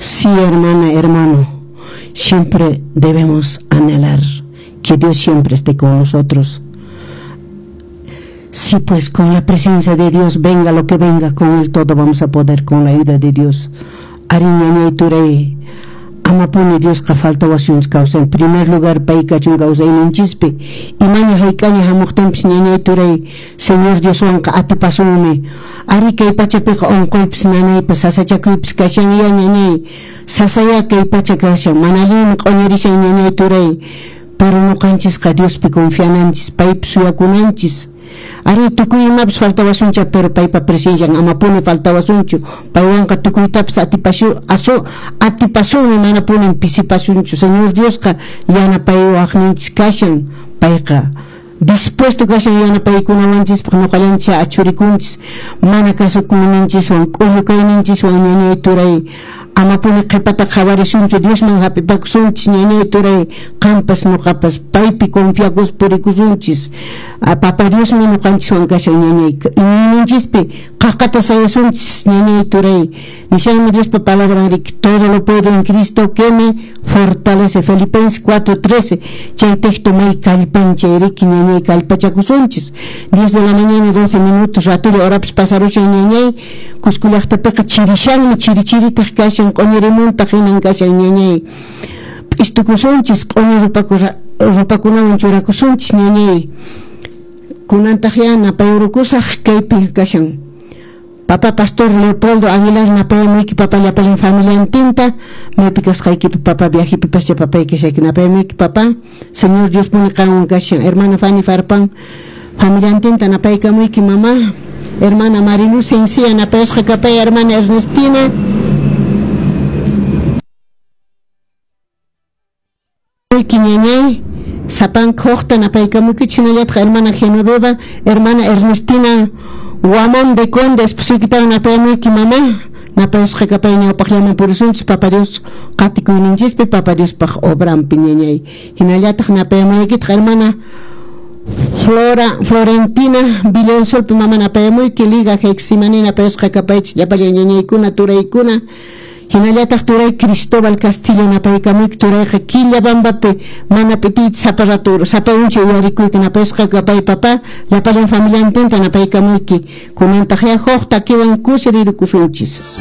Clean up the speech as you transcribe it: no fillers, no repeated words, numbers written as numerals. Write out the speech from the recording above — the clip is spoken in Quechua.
Sí, hermana, hermano, siempre debemos anhelar que Dios siempre esté con nosotros. Sí, pues con la presencia de Dios, venga lo que venga, con Él todo vamos a poder, con la ayuda de Dios. Arí ñañay turay, amapuni Diosqa faltawasunchu kawsay. En primer lugar, pay kachun kawsayninchispi. Imaña hayk'aña hamuqtinpis ñañay turay, Señor Dioswanqa atipasunmi. Arí kay pachapiqa unquypis nanaypas sasachakuypis kashanya ñañay. Sasaya kay pacha kashan, mana allinmi q'uñirishan ñañay turay. Pero ñuqanchisqa Diospi confiananchis, paypi suyakunanchis. Arí tukuy imapas faltawasuncha, pero paypa presencian amapuni faltawasunchu. Paywanqa tukuytapas atipasunmi, manapunin pisipasunchu. Señor Diosqa yanapayawaqninchis kashan, payqa dispuesto kashan yanapaykunawanchispaq, ñuqallanchis achurikunchis, mana kasukuyninchiswan, k'ullu kayninchiswan ñañay turay. Amapuni qhipata qhawarisunchu, Diosman hap'ipakusunchis ñañay turay, qampas ñuqapas paypi confiakus purikusunchis. Papa Diosmi ñuqanchiswan kashan ñañay, iñiyninchispi qaqata sayasunchis ñañay turay. Nishanmi Diospa palabra riki, todo lo puedo en Cristo que me fortalece, Filipenses 4:13. Chay texto may kallpanchay riki ñañay, kallpachakusunchis. 10 de la mañana 12 minutos, ratulla horapas pasarushan ñañay, Cusco llaqtapiqa chirishanmi, chiri chiritaq kashan, q'uñirimuntaq hinan kashan ñañay. P'istukusunchis, q'uñi rupakunawan churakusunchis ñañay. Kunantaq ya napayrukusaq kaypi kashan. Papa Pastor Leopoldo Aguilar napayamuyki papa llapallan familiantinta, maypi kasqaykipi papa viajepi pascha papay kashayki napayamuyki papa. Señor Dios puni qanwan kashan. Hermana Fanny Farpan familiantinta napaykamuyki mamá. Hermana Mariluz Encía napayasqa kapay hermana Ernestina. Ñañay sapanka huqta napaykamuykichik, hinallataq hermana Genoveva, hermana Ernestina Guamán de Conde, esposuykitawan napayamuyki mamá. Napayasqa kapay ñawpaqllaman purisunchis Papa Dios qatikuyninchispi, Papa Diospaq obranpi ñañay. Hinallataq napayamuykitaq hermana Flora Florentina Villansolpi mama napayamuyki, Liga Heximani napayasqa kapaychik llapallan ñañaykuna turaykuna. Hinallataq turay Cristóbal Castillo napaykamuyki, turayqa Quillabambapi mana p'itiyta sapa rato sapa uncha uyarikuyki napayasqa kapay papá llapallan familiantinta napaykamuyki. Kunantaq ya huk takiwan kusirirukusunchis.